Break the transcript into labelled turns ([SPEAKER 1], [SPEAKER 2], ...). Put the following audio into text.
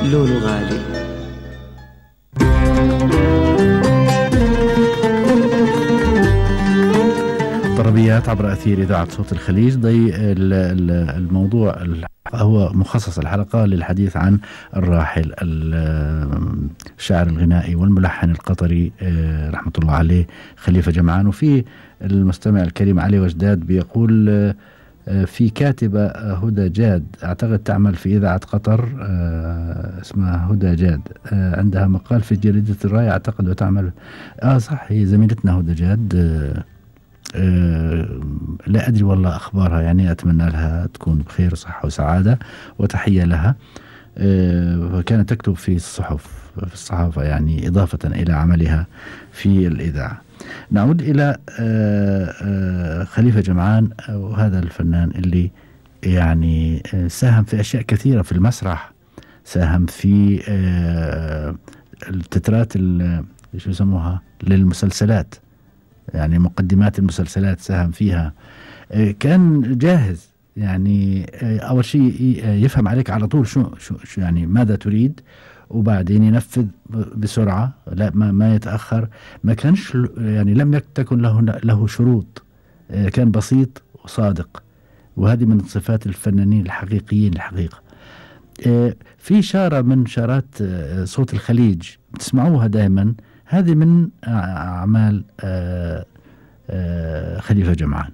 [SPEAKER 1] لولو غالي.
[SPEAKER 2] طربيات عبر أثير إذاعة صوت الخليج. الموضوع هو مخصص الحلقة للحديث عن الراحل الشاعر الغنائي والملحن القطري رحمة الله عليه خليفة جمعان. وفي المستمع الكريم علي وجداد بيقول في كاتبة هدى جاد أعتقد تعمل في إذاعة قطر اسمها هدى جاد عندها مقال في جريدة الراية أعتقد وتعمل صح هي زميلتنا هدى جاد. لا أدري والله أخبارها يعني أتمنى لها تكون بخير وصحة وسعادة وتحية لها. وكانت تكتب في الصحافة يعني إضافة إلى عملها في الإذاعة. نعود إلى خليفة جمعان وهذا الفنان اللي يعني ساهم في أشياء كثيرة في المسرح. ساهم في التترات شو يسموها للمسلسلات يعني مقدمات المسلسلات ساهم فيها. كان جاهز يعني أول شيء يفهم عليك على طول شو يعني ماذا تريد وبعدين ينفذ بسرعة لا ما يتأخر. ما كانش يعني لم تكن له شروط. كان بسيط وصادق وهذه من صفات الفنانين الحقيقيين الحقيقة. في شارة من شارات صوت الخليج بتسمعوها دائما هذه من أعمال خليفة جمعان.